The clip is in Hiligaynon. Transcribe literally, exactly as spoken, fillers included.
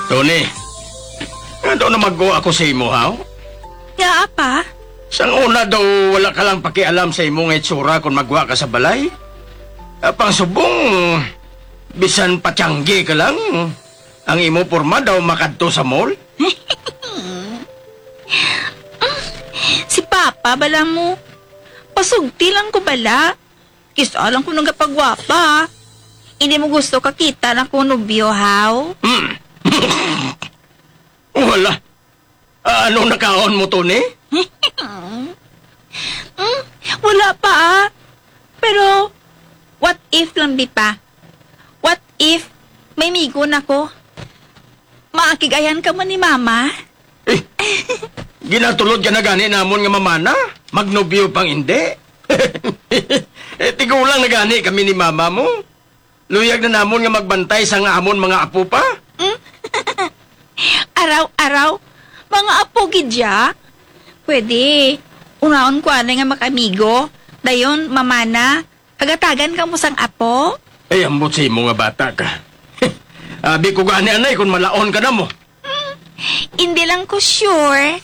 Tony, nga daw namagwa ako sa imo, haw? Nga, apa? Sang una daw, wala ka lang pakialam sa imo nga itsura kung magwa ka sa balay. Ah, pang subong, bisan patiyanggi ka lang, ang imo porma daw makadto sa mall. Si Papa, bala mo. Pasugti lang ko, bala. Kis-a lang ko nagapagwapa. Hindi mo gusto ka kita na ko nobyo, haw? Hmm. Wala. Ah, ano nakaon mo, Tony? Mm, wala pa, ah. Pero, what if lang, di pa? What if may migo na ko? Maakig-ayan ka mo ni Mama? Eh, ginatulod ka na gani namon nga mamana? Magnobyo pang hindi? Eh, tigulang na gani kami ni Mama mo. Luyag na namon nga magbantay sa nga amon mga apo pa. Hmm? Araw-araw, mga apo gid ya. Pwede, unaon ko anay nga makamigo. Dayon, mamana, pagatagan ka mo sang apo. Ay, ambot sa imo nga bata ka. Abi ko gani, anay, kung malaon ka na mo. Hmm, hindi lang ko sure.